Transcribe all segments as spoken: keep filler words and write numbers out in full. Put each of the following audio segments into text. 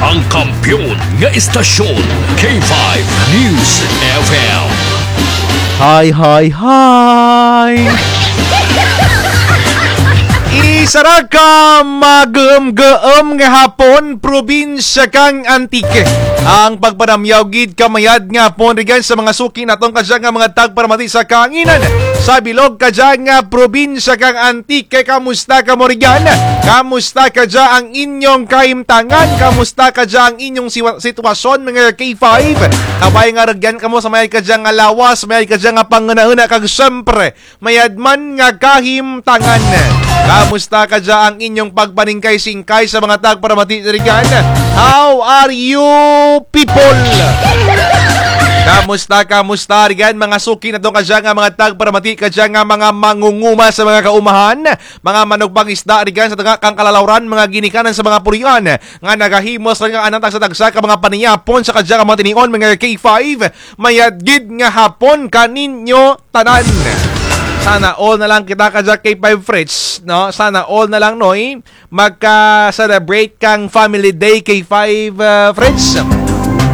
Ang kampiyon nga istasyon, K five News F M. Hi, hi, hi! Isara ka maguum-guum nga hapon, probinsya kang Antique. Ang pagpanamyaw gid ka mayad nga hapon rugyan sa mga suki naton kadya nga mga tagparamati sa kahanginan. Sa bilog kadya nga probinsya kang Antique, kamusta kamo rugyan? Kamusta kadya ang inyong kahimtangan? Kamusta kadya ang inyong siwa-, sitwasyon, mga K five? Kabay nga rugyan kamo sa mayad kadya nga lawas, mayad kadya nga panghunahuna kag siyempre, mayad man nga kahimtangan. Kamusta kadya ang inyong pagpaningkay-singkay sa mga tagparamati rugyan? How are you, people? Kamusta, kamusta rugyan, mga suki naton kadya nga mga tagparamati, kadya nga mga mangunguma sa mga kaumahan, mga manugpangisda rugyan sa tunga kang kalalawran, mga ginikanan sa mga pulian nga nagahimo sa nga anang tagsa-tagsa ka mga paniyapon sa kadya nga mga tinion, mga K five. Mayad gid nga hapon kaninyo tanan. Sana all na lang kita kadya K five Fritz, no? Sana all na lang, Noy, magka-celebrate kang Family Day K five, ah, Fritz.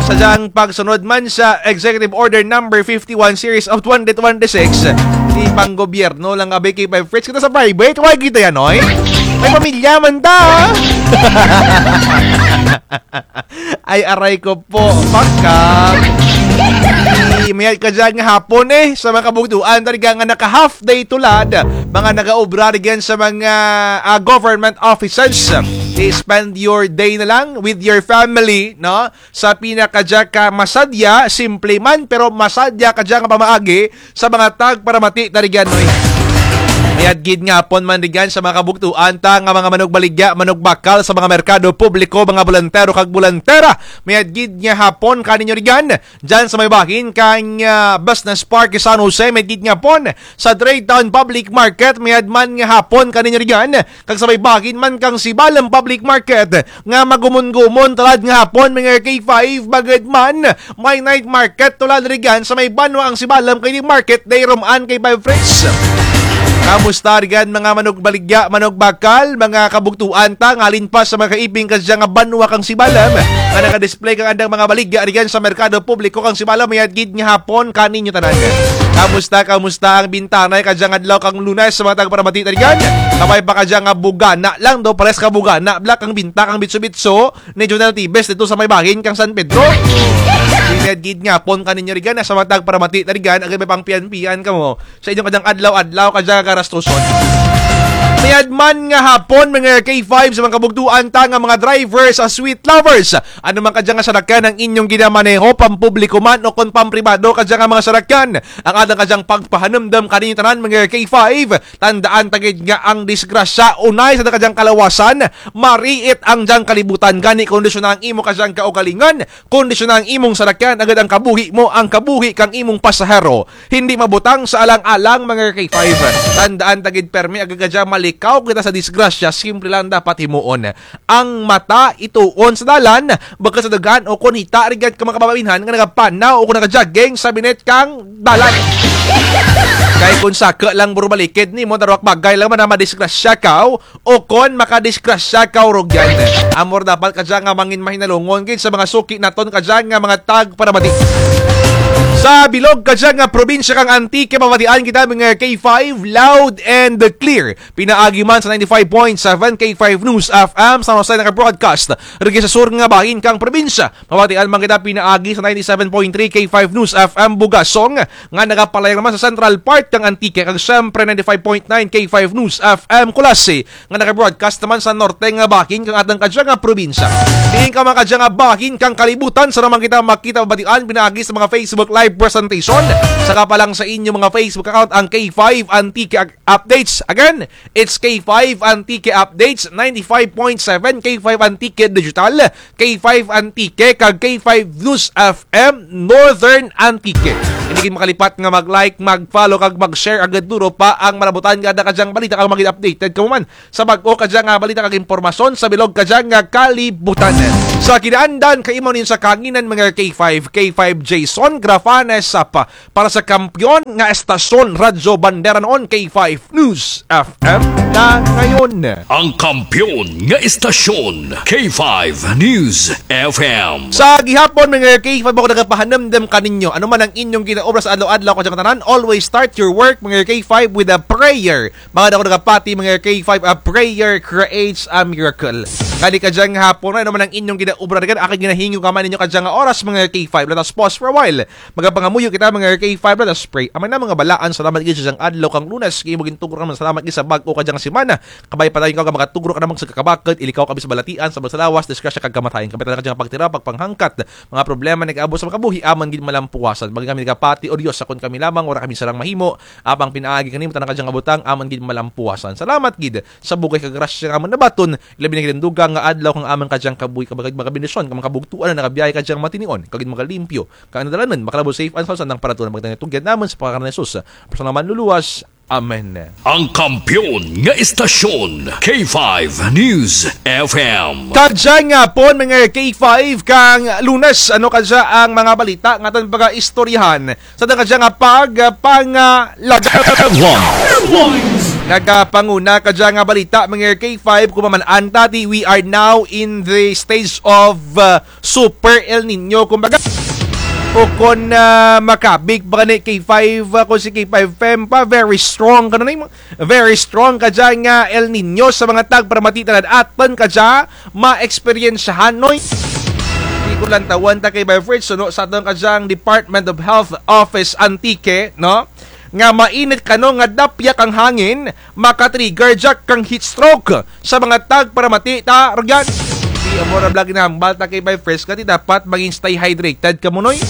Sa dyang pagsunod man sa Executive Order Number fifty-one Series of twenty twenty-six, di pang gobyerno lang abi K five Fritz. Kita sa private, why kita yan, Noy? May pamilya man ta, ah. Ay, aray ko po, pakak. Mayad kadya nga hapon, eh, sa mga kabugtuan, talaga nga naka-half day tulad, mga nagaobra rugyan sa mga, ah, government offices. I-spend your day na lang with your family, no? Sa pinakadya ka masadya, simple man, pero masadya kadya nga pamaagi, sa mga tagparamati ta rugyan, Noy. Mayad gid nga hapon man rugyan sa mga kabugtuan ta nga mga manugbaligya, manugbakal sa mga merkado publiko, mga boluntero kag boluntera. Mayad gid nga hapon kaninyo rugyan. Dyan sa may bahin kang, ah, Business Park San Jose, mayad gid nga hapon. Sa Trade Town Public Market, mayad man nga hapon kaninyo rugyan. Kag sa may bahin man kang Sibalom Public Market, nga magumon-gumon tulad nga hapon, mga K five, bagad man may night market tulad rugyan sa may banwa ang Sibalom kay di market day ruman kay Five Fritz. Kamusta rugyan, mga manugbaligya, manugbakal, mga kabugtuan ta nga halin pa sa mga kaibing kadya nga banwa kang Sibalom nga naga-display kang andang mga baligya rugyan sa merkado publiko kang Sibalom, mayad gid nga hapon kaninyo tanan. Kamusta, kamusta ang bintanay kadya nga adlaw kang Lunes sa mga tagparamati ta rugyan? Kabay pa kadya nga bugana lang daw, pares ka bugana bala kang binta kang bitso-bitso ni Jonel Tibes didto sa may bahin kang San Pedro. Mayad gid nga hapon kaninyo rugyan, sa mga tagparamati ta rugyan, agay may pangpian-pian kamo sa inyo kadyang adlaw-adlaw kadya nga garastuson. Mayad man nga hapon, mga K five, sa mga kabugtuan ta nga mga drivers, ah, sweet lovers. Ano man kadya nga sarakyan ang inyong ginamaneho, pampubliko man o kon pampribado kadya nga mga sarakyan, ang atun kadyang pagpahanumdum kaninyo tanan, mga K five, tandaan ta gid nga ang disgrasya unay sa kadyang kalawasan, mariit ang dyang kalibutan. Gani, kondisyona ang imo kadyang kaugalingon, kondisyona ang imong sarakyan, agud ang kabuhi mo, ang kabuhi kang imong pasahero. Hindi mabutang sa alang-alang, mga K five. Tandaan ta gid permi, agud kadya malikaw kita sa disgrasya, simple lang dapat himuon. Ang mata ituon sa dalan, bukut sa dugan, o kon hita rugyan ka mga kababainhan nga nagapanaw o kon nagajogging sa binit kang dalan. Kay kon saka lang buro balikid nimo, darwa ka bagay lang man nga madisgrasya kaw, o kon makadisgrasya kaw rugyan. Amo ra dapat kadya nga mangin mahinalungon gid sa mga suki naton kadya nga mga tagparamati. Sa bilog kadya nga probinsya kang Antique, mabatian kita mga K five loud and clear. Pinaagi man sa ninety-five point seven K five News F M San Jose, naka-broadcast rugya sa sur nga bahin kang probinsya. Mabatian man kita pinaagi sa ninety-seven point three K five News F M Bugasong, nga nagapalayag naman sa central part kang Antique, kag siyempre ninety-five point nine K five News F M Culasi, nga naka-broadcast naman sa norte nga bahin kang atun kadya nga probinsya. Diin ka man kadya nga bahin kang kalibutan, sara man kita makita, mabatian pinaagi sa mga Facebook Live presentation. Saka pa lang sa inyo mga Facebook account, ang K five Antique Updates. Again, it's K five Antique Updates, ninety-five point seven K five Antique Digital, K five Antique, kag K five News F M Northern Antique. Hindi gid makalipat nga mag-like, mag-follow, kag mag-share, agud duro pa ang malabutan nga ada kadyang balita kag maging updated kamo man sa bag-o kadya nga balita kag impormasyon sa bilog kadya nga kalibutan. Sa kinaandan kay amo ning sa kahanginan, mga K five, K five Jason Grafanes, ah, pa, para sa kampiyon nga estasyon, Radyo Bandera noon, K five News F M na ngayon. Ang kampiyon nga estasyon, K five News F M. Sa gihapon, mga K five, ako nagapahanumdum kaninyo, ano man ang inyong ginaobra sa adlaw-adlaw, kadyang tanan, always start your work, mga K five, with a prayer. Mga dako nagapati, mga K five, a prayer creates a miracle. Gani kadyang hapon, ano man ang inyong ginaobra, akig ginahingo kamo ninyo kadyang oras, mga K five. Let us pause for a while. Magapangamuyo kita, mga K five, let us pray. Amay namong nga balaan, salamat gid sa dyang adlaw kang Lunes, kay imo gintugro kami, salamat gid sa bag-o kadyang semana. Kabay padayon ka nga makatugro kanamo sa kakabakod, ilikaw kami sa balatian, sa lawas, disgrasya kag kamatayon. Kabay tana kadyang pagtira, pagpanghangkat, mga problema nga nagaabot sa mga kabuhi, amun gid malampuwasan. Maging kami nagapati, O Diyos, kon kami lamang, wara kami sarang mahimo, apang pinaagi kanimo tana kadyang kabutang, amun gid malampuwasan. Salamat gid sa bug-os kag grasya nga amun nabaton, ilabi na gid ang dugang nga adlaw kang amun kadyang kabuhi, kabay kag mga bendisyon, kang mga kabugtuan nga nagabiyahe kadyang matinion, kag gid magalimpyo, kang dalanon, makalabot safe and sound sa andang panahon, magtanay tugyan namun sa pangaran ni Jesus, personal manluluwas. Amen. Ang kampiyon nga estasyon, K five News F M. Kadyang hapon, mga K five, kang Lunes, ano kadya ang mga balita nga atun pagaistoryahan sa atun kadya nga pagpangalagad? Headlines. Nagapanguna kadya nga balita, mga K five, kon maman-an ta, ti, we are now in the stage of, uh, Super El Niño, kumbaga. O kon, ah, makabig pa gani K five, ah, kon si K five Fem pa, very strong, kano ni, very strong kadya nga El Niño sa mga tagparamati tanan atun kadya maeksperiensyahan, noy. Di ko lantawun ta kay Bay Fritz, suno sa atun kadyang Department of Health Office Antique, no? Nga mainit kano nga dapyak ang hangin, maka-trigger dya kang heat stroke sa mga tagparamati ta rugyan. Ti amo ra bala ginahambal ta kay Bay Fritz, kay ti dapat mangin stay hydrated kamo, noy.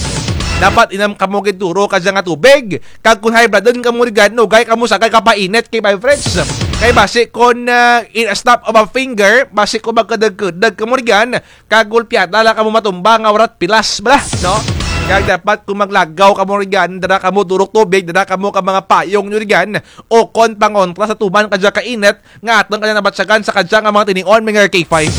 Dapat inum kamo gid duro kadya nga tubig. Kag kon high bloodon kamo rugyan, nugay kamo sa kay kapainit kay Bay Fritz. Kay basi kon, ah, in a snap of a finger, basi kon magkudug-kudug kamo rugyan, kag gulpiada lang kamo matumba nga wara't pilas bala, no? Kag dapat kon maglagaw kamo rugyan, dara kamo durok tubig, dara kamo kang mga payong nyo rugyan, ukon pangontra sa tuman kadya kainit nga atun kadya nabatyagan sa kadya nga mga tinion, mga K five.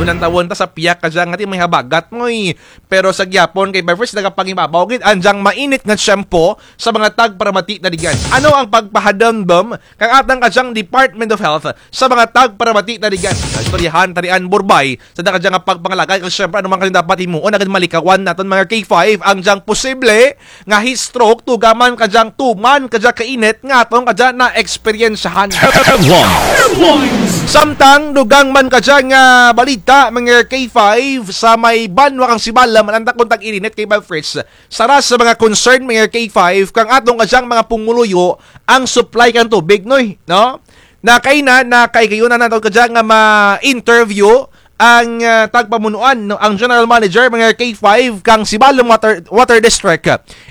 Kon lantawun ta sa piyak kadya nga ti may habagat, noy. Pero sa gihapon kay Bay Fritz, nagapangibabaw gid ang dyang mainit nga tiyempo sa mga tagparamati ta rugyan. Ano ang pagpahadumdum kang atun kadyang Department of Health sa mga tagparamati ta rugyan? Istoryahan ta ria, Burbay, sa atun kadya nga pagpangalagad, kag syempre, ano man kadya dapat himuon, agud malikawan natun, mga K five, ang dyang posible nga heat stroke, tuga man kadyang tuman kadya kainit nga atun kadya naeksperiensyahan. Headlines. Samtang dugang man kadya nga balita, mga K five, sa may banwa kang Sibalom, manan ta kon tag-irinit kay Bay Fritz, sara sa mga concern, mga K five, kang atun kadyang mga pumuluyo ang supply kang tubig, noy, no? Na kaina, na kay gayon na natun kadya nga ma-interview ang, ah, tagpamunuan, no, ang general manager, mga K five, kang Sibalom Water, Water District,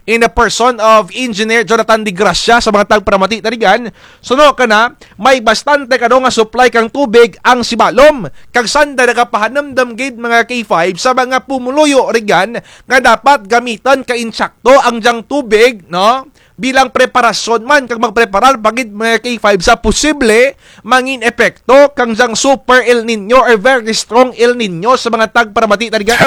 in the person of Engineer Jonathan De Gracia, sa mga tagparamati ta rugyan. Suno kana, may bastante kano nga supply kang tubig ang Sibalom. Kag sanda nagapahanumdum gid, mga K five, sa mga pumuluyo rugyan nga dapat gamitun kang insakto ang dyang tubig, no? Bilang preparasyon man, kag magpreparar pa gid, mga K five, sa posible mangin epekto kang dyang Super El Niño or very strong El Niño sa mga tagparamati ta rugyan.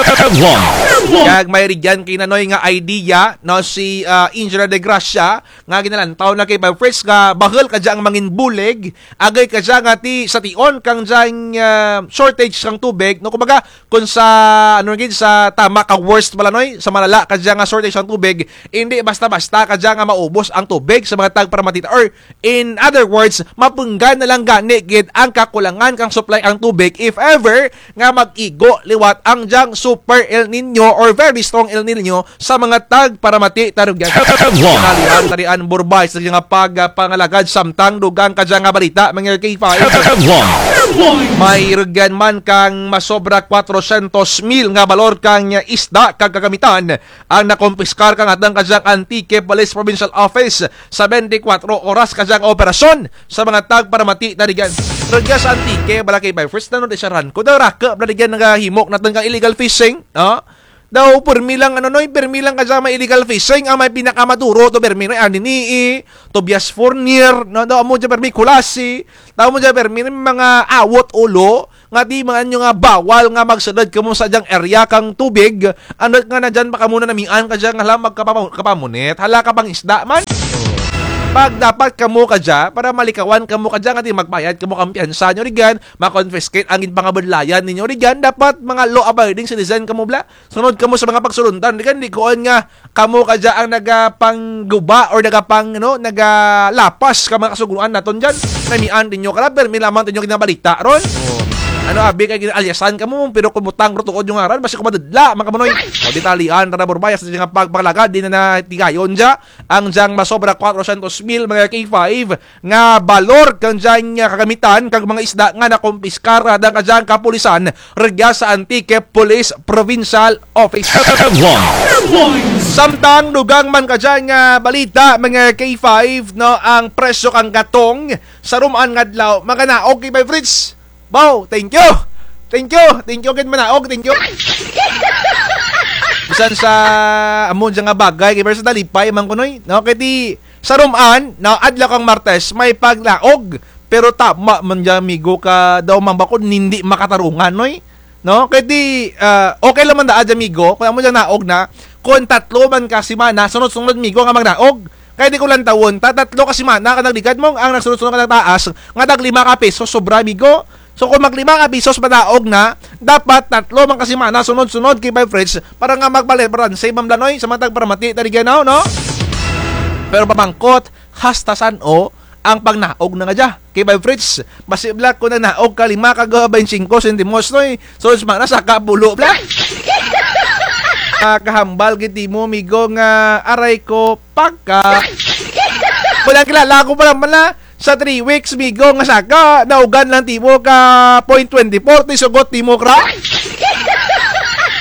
Kag may rugyan kay nanoy nga idea, no, si, ah, Engineer De Gracia, nga ginalantaw na kay Bay Fritz nga bahul kadya ang mangin bulig, agud kadya nga ti sa tion kang dyang, ah, shortage kang tubig, no, kumbaga, kon sa, ano gid, sa tama ka worst bala, noy, sa malala kadya nga shortage ang tubig, indi basta-basta kadya nga maubos ang tubig sa mga tagparamati ta, or in other words, mapunggan na lang gani gid ang kakulangan kang supply ang tubig if ever nga mag-igo liwat ang dyang Super El Niño or very strong El Niño sa mga tagparamati ta rugyan. Headlines. Kinalihan ta ria, Burbay, sa nga pagpangalagad, samtang dugang kadya nga balita, mga K five. Headlines. May rugyan man kang masobra kwatrosyentos mil nga balor kang isda kag kagamitan ang nakumpiskar kang atun kadyang Antique Police Provincial Office sa bente kwatro oras kadyang operasyon sa mga tagparamati ta rugyan. Rugya sa Antique bala kay Bay Fritz, nano di sa Ranco, daw raku bala rugyan nagahimo natun kang illegal fishing, no? Daw pirmi lang, ano, noy, pirmi lang kadya may illegal fishing, ang may pinakamaduro to pirmi, noy, Anini-y, Tobias Fornier, no, daw amo dya pirmi, Culasi, daw amo dya pirmi, mga awot ulo, nga ti man-an nyo nga bawal nga magsulud kamo sa dyang area kang tubig, andut nga na dyan pa kamo nanamian kadya nga hala magkapamo-, kapamunit, hala kapangisda man. Pag dapat kamo kadya, para malikawan kamo kadya nga ti magbayad kamo kang piyansa nyo rugyan, ma-confiscate ang ginpangabudlayan ninyo rugyan, dapat mga law-abiding citizen kamo bala. Sunod kamo sa mga pagsulundan, rugyan, di kuon nga kamo kadya ang nagapangguba or nagapang, ano, nagalapas ka mga kasuguan naton dyan. Namian tinyo kara, pirmi lamang tinyo ginabalita ron. Oh. Ano, abi kay gina-aliasan kamo, pero kon butang ro tuod yung ngaran, basi ko madudla, mga kamunoy. O, detalyehan tana, Burbay, sa dyang pagpangalagad, di na natigayon dya ang dyang masobra kwatrosyentos mil, mga K five, nga balor kang dyang, ah, kagamitan kag mga isda nga nakumpiskar kang dyang kapulisan rugya sa Antique Police Provincial Office. Samtang dugang man kadya nga balita, mga K five, no, ang presyo kang gatong sa rum-an nga adlaw, mga naog, K five Fritz. Baw, thank you. Thank you. Thank you gid, manaog, thank you. Bisan sa amo dya nga bagay, kay pero sa nalipay man kunoy, no, kay ti sa rum-an, no, adlaw kang Martes, may pagnaog. Pero tama man dya, amigo, ka daw man ba kun hindi makatarungan, noy? No? Kay ti, ah, okay lang man dya, amigo, kon amo dya naog na, kon tatlo man ka semana, sunod-sunod, amigo, nga magnaog. Kay ti kon lantawon ta, tatlo ka semana ka nagligad mo, ang nagsunod-sunod ka nagtaas, nga tag lima ka piso, sobra, amigo. So, kon mag lima ka piso manaog na, dapat tatlo man ka semana, sunod-sunod, K five Fritz, para nga magbalanse man bala, noy, sa mga tagparamati, tana rugyan, no? Pero pamangkot, hasta san-o ang pagnaog na nga dya, K five Fritz? Basi bala kon nagnaog ka lima kag baynte singko sentimos, noy, so, sa mga nasaka pulo bala. Ah, kahambal gid timo, amigo, nga aray ko, pagka. Wala kilala ko pa naman na sa three weeks, amigo, nga saka, naugan lang timo ka point twenty-four, ti sugot timo kara.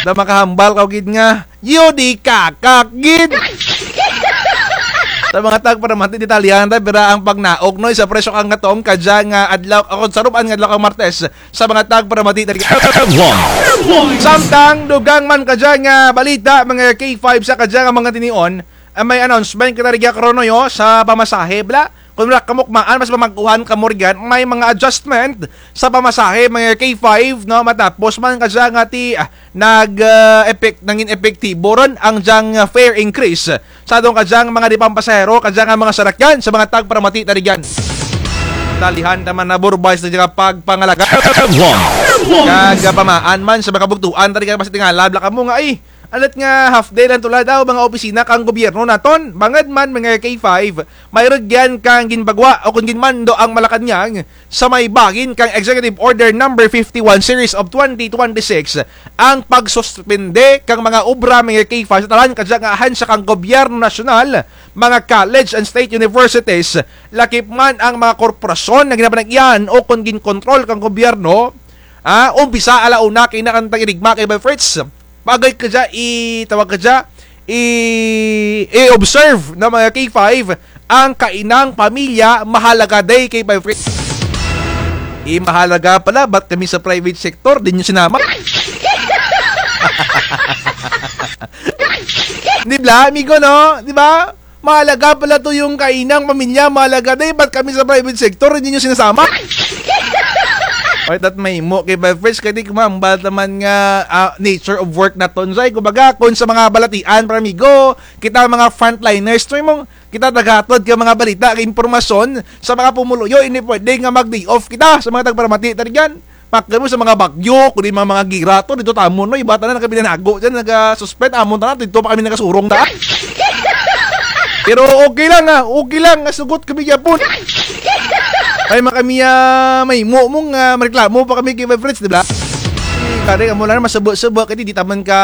Da makahambal kaw gid nga, yu di kakak gid. Sa mga tagparamati, detalyehan ta, pira ang pagnaog, noy, sa presyo kang gatong kadya nga adlaw, o kon sa rum-an nga adlaw kang Martes, sa mga tagparamati, tana rugyan. Samtang dugang man kadya nga balita, mga K five, sa kadya nga mga tinion, ah, may announcement kita rugya karon, noy, o, sa pamasahe bala. Kon wara kamo kumaan, mas pamangkuhan kamo rugyan, may mga adjustment sa pamasahe, mga K five, no, matapos man kadya nga ti, ah, nag, ah, epek-, nangin epektibo run ang dyang, ah, fare increase sa atun kadyang mga di pampasahero, kadya nga mga sarakyan, sa mga tagparamati, tana rugyan. Detalyehan ta man, Burbay, sa dyang pagpangalagad. Kag, ah, pamaan man sa mga kabugtuan, tana rugyan, basi tingala bala kamo nga, ay, andut nga half day lang tulad ang mga opisina kang gobyerno naton. Bangud man, mga K five, may rugyan kang ginpagwa o kon ginmando ang Malacañang sa may bahin kang Executive Order number fifty-one series of twenty twenty-six, ang pagsuspende kang mga obra, mga K five, sa tanan kadya nga ahansya kang gobyerno nasyonal, mga college and state universities, lakip man ang mga korporasyon nga ginapanag-iyahan o kon ginkontrol kang gobyerno, ah, umpisa ala una kay na kang tag-irigma, K five Fritz. Paagi kadya, i-, tawag kadya, i-, i-observe ng mga K five ang Kainang Pamilya Mahalaga Day, K five Fritz. I, mahalaga pala, ba't kami sa private sector, di nyo sinama? Di bala, amigo, no? Di ba? Mahalaga pala to yung Kainang Pamilya Mahalaga Day, ba't kami sa private sector, hindi nyo sinasama? Oy, tat mahimo, K five Fritz, kay ti kumambal ta man nga, ah, nature of work naton, say. Kumbaga, kon sa mga balatian, para amigo, kita mga frontliners, to imong, kita naghatod kang mga balita, kang impormasyon, sa mga pumuluyo, hindi pwede nga mag-day off kita, sa mga tagparamati, tana rugyan. Pakay mo sa mga bagyo, kundi mga, mga gira to, didto tamo, no? Iba tanan nakabinanago dyan, naga-suspend, amon tanan, didto pa kami nagasurong ta. Pero okay lang, ah, okay lang, nga sugot kami gyapon. Ay, makami, ah, mahimo mong, ah, mareklamo pa kami kay Fritz, di ba? Kari, amo lang, masubo-subo, kay di taman ka,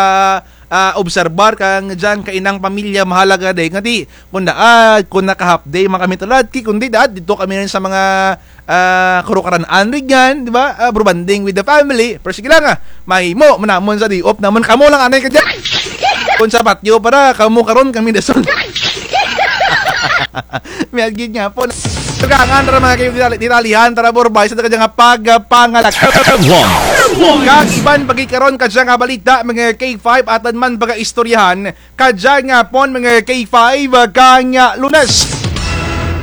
ah, obserbar kang dyan, Kainang Pamilya Mahalaga Day, nga di, kon daad, kon naka-half day man kami tulad, ki, kundi daad, didto kami rin sa mga, ah, karukaran-an rugyan, di ba? Ah, bro, bonding with the family. Pero sige lang, ah, mahimo man namon sa day off namon. Kamo lang anay kadya. Kon sa patio para, kamo karon, kami dasol. Mayad gid nga po. Tugangan tara, mga kay-, detalyehan tara, Burbay, sa kadya nga pagpangalagad. Kag iban pa gid karon kadya nga balita, mga K five, atun man pagaistoryahan kadya nga pon, mga K five, kang, ah, Lunes.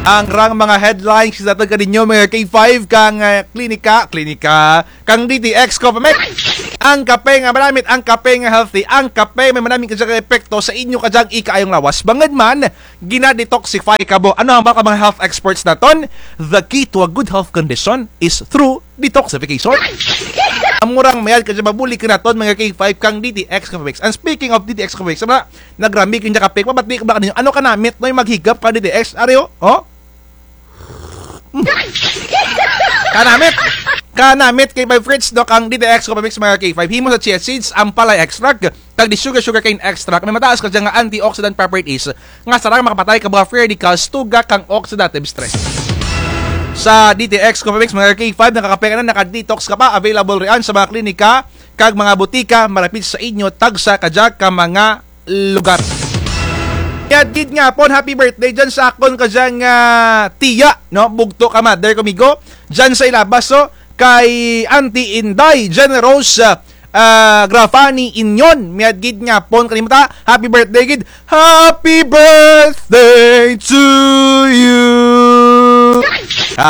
Ang rang mga headlines sa atun kaninyo, mga K five, kang, ah, klinika, klinika, kang D T X Coffee Mix. Ang kape nga manamit, ang kape nga healthy, ang kape may manamit kadya nga epekto sa inyo kadyang ikaayong lawas. Bangud man, gina-detoxify kamo. Ano hambal kang mga health experts natun? The key to a good health condition is through detoxification. Amo rang mayad kadya mabulig kanatun, mga K five, kang D T X Coffee Mix. And speaking of D T X Coffee Mix, sama, nagrami kadya kape, mabati ko ba kaninyo, ano kanamit, no, yung maghigap kang D T X, ari, o? O? Mm. Kanamit! Kanamit kay K five Fritz, no, kang D T X Coffee Mix, mga K five. Himo sa chia seeds, ampalaya extract, kag di sugar, sugarcane extract, may mataas kadya nga antioxidant properties nga sarang makapatay kang mga free radicals, tuga kang oxidative stress. Sa D T X Coffee Mix, mga K five, nakakape ka na, naka-detox ka pa, available riyan sa mga klinika kag mga butika malapit sa inyo, tagsa kadya ka mga lugar. Mayad gid nga hapon, happy birthday dyan sa akun kadyang, ah, tiya, no? Bugto ka mother ko, migo. Dyan sa Ilabas, so, kay Auntie Inday, Generous, ah, ah, Grafani Inyon. Mayad gid nga hapon kanimo ta. Happy birthday gid. Happy birthday to you.